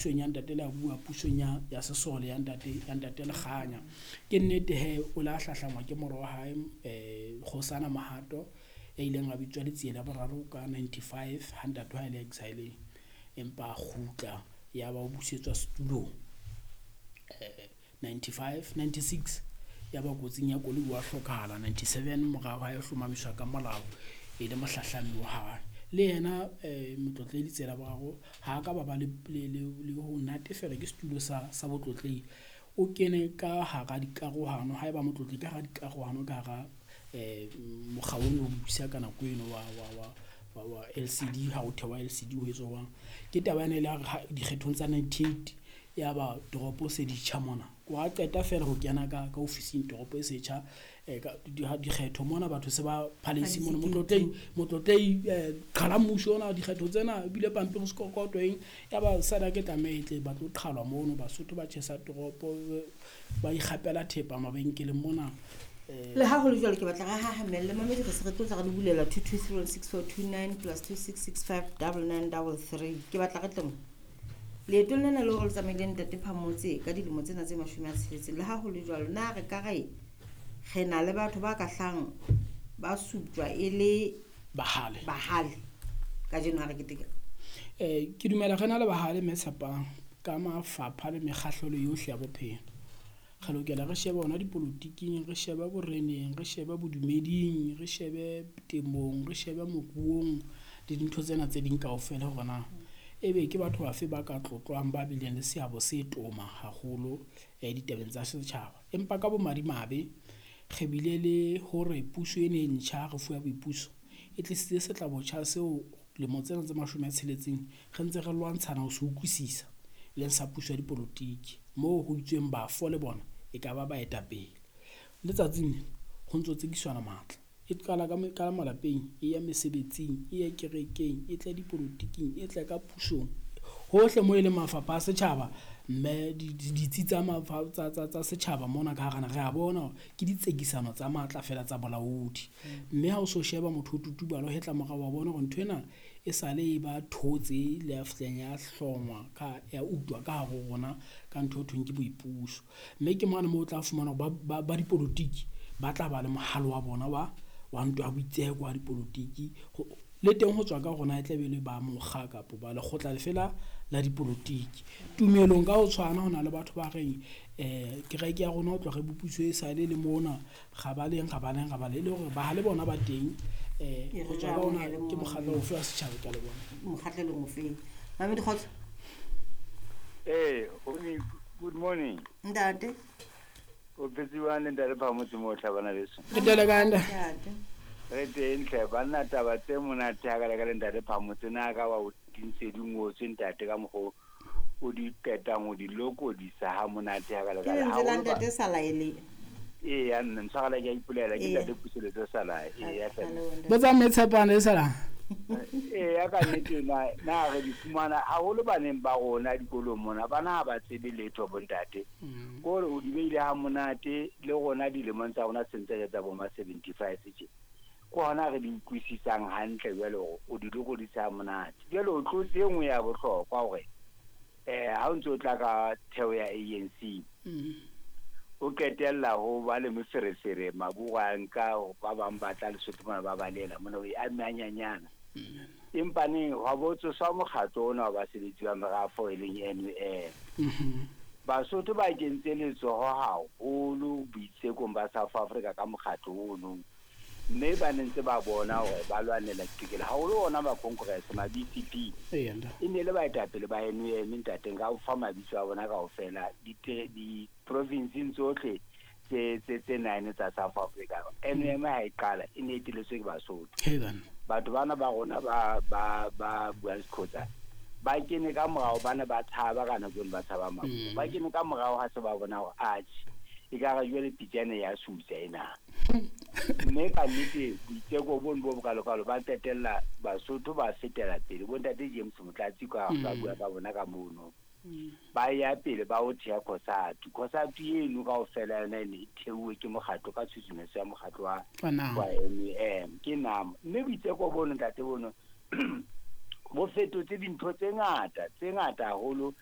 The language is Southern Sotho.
Pusong ya ntate Leabua, pusong ya ya sesole ya ntate ya ntate Lekganya. Ke nnete he o la hlahlangwa ke mora wa hae Kgosana Mohato ya ileng a bitswa Letsie la boraro ka 95 ha ntate wa hae le exile-eng. Empa a kgutla ya ba o busetswa setulong 95 96 ya ba kotsing ya koloi wa hlokahala 97 mora wa hae o hlomamiswa ka molao e le mohlahlami wa hae. Le yena Motlotlehi Letsie la boraro ha a ka ba ba le ho natefelwa ke setulo sa botlotlehi. O kene ka hara dikarohano haeba motlotlehi ka hara dikarohano ka hara mokga ono o busa ka nako eno wa LCD ha o thewa LCD ho etswa jwang. Ke taba ena e le hare dikgethong tsa 98 ya ba toropo se di tjha mona. Wa qeta feela ho kena ka ofising toropo e setjha dikgetho mona batho se ba palace mona motlotlehi qhala mmuso ona dikgetho tsena ebile pampiri sekokoto eng ya ba sada ke tlameha e tle ba tlo qhalwa mono. Basotho ba tjhesa toropo ba ikgapela thepa mabenkeleng mona. Le ha ho le jwalo ke batla re hahamelle mamedi re se re tlo tla re le bulela 2236429 plus 26659933. Ke batla re tle mo leetong lena le hore le tsamaile ntate Phamotse ka dilemo tsena tse 60. Le ha ho le jwalo na re ka re re na le batho ba ka hlang ba suptjwa e le bahale kajeno ha re keteka? Ke dumela re na le bahale mme tshepang ka mafapha le mekgahlelo yohle ya bophelo. Re lokela re shebe hona dipolotiking, re shebe boreneng, re shebe bodumeding, re shebe temong, re shebe moruong le dintho tsena tse ding kaofela hore na ebe ke batho bafe ba ka tlotlwang ba bileng le seabo se toma haholo ditabeng tsa setjhaba. Empa ka bomadimabe re bile le hore puso ena e ntjha re fuwa boipuso e tlisitse setlabotjha seo lemo tsena tse 60 re ntse re lwantshana ho se utlwisisa leng sa puso ya dipolotiki moo ho itsweng bafo le bona e ka ba baetapele. Letsatsing ho ntso tsekiswana matla e qala ka malapeng, e ya mesebetsing, e ya kerekeng, e tla dipolotiking, e tla ka pusong hohle moo e leng mafapha a setjhaba mme ditsi tsa tsa setjhaba mona ka hara re a bona ke ditsekisano tsa matla fela tsa bolaodi. Mme ha o so sheba motho o tutubalo hetla morao wa bona hore ntho ena e sale e ba thotse le ya fihleng ya hlongwa ka ya utlwa ka hare ho rona ka ntho e thweng ke boipuso. Mme ke mane moo o tla fumana hore ba dipolotiki ba tla ba le mohalo wa bona wa ntwa ya boitseko wa dipolotiki le teng ho tswa ka rona e tla be le ba mokga kapa ba lekgotla lefela la dipolotiki. Tumelong ka ho tshwana ho na le batho ba reng kereke ya rona ho tloha re bopuso e sale le mona ga ba leng e le hore ba le bona ba teng ho tswa ka ona ke mokgatlo ofe wa setjhaba ka le bona mokgatlelong ofe. Mamedi kgotso. Good morning ntate. O phetse le ntate Phamotse mo tlhabana leso. Re tele ka ntate. Re teng hle banna taba tse monate ha ka le ka le ntate Phamotse na ka wa o dintse di ngotswe ntate ka mokgo o di qetang o di lokodisa ha monate ha ka le ka le la ntate Salaele. Ee nna ntshwarela ke a ipolela ke ntate Puseletso Salae. Ee ya fela. Botsa mme Tshepane le Sala. Ee ya ka nnete na re di fumana haholo baneng ba rona dikolong mona bana ha ba tsebe letho bontate. Kore o di beile ha monate le rona dilemong tsa rona sentse tsa bo ma 75 tje. Ke hona re di utlwisisang hantle jwale hore o di lokodisa ha monate. Jwale o tlotse e nngwe ya bohlokwa hore ha o ntso tla ka theo ya ANC o qetella ho ba le moferefere maburu a nka ba bang ba tla Lesotho mona ba balela mona o e amanyanyana. Empa neng hwa bo tsoswa mokgatlo ona wa basebetsi ba merafo e leng NUM. Basotho ba kentse letsoho haholo boitsekong ba South Africa ka mokgatlo ono. Mme ba ne ntse ba bona hore ba lwanela ditokelo haholo ona ba Congress ma BCP. E ne le baetapele ba NUM ntateng ka ho fa mabitso a bona kaofela di provinceng tsohle tse 9 tsa South Africa. NUM ha e qala e ne e eteletswe ke Basotho. Batho bana ba rona ba buang Sexhosa ba kene ka morao, ba ne ba tshaba ka nako eno ba tshaba maburu. Ba kene ka morao ha se ba bona hore atjhe e ka re jwale pitjane ya sutsa ena. Mme ka nnete boiteko bono bo bokalokalo ba qetella Basotho ba fetela pele. Bontate James Motlatsi ka ba bua ka bona ka mono. Ba ya pele ba o thea COSATU. COSATU eno kaofela yona e ne e theuwe ke mokgatlo ka tshusumetso ya mokgatlo wa NUM ke NAM. Mme boiteko bono ntate bono Bo fetotse dintho tse ngata, tse ngata haholo.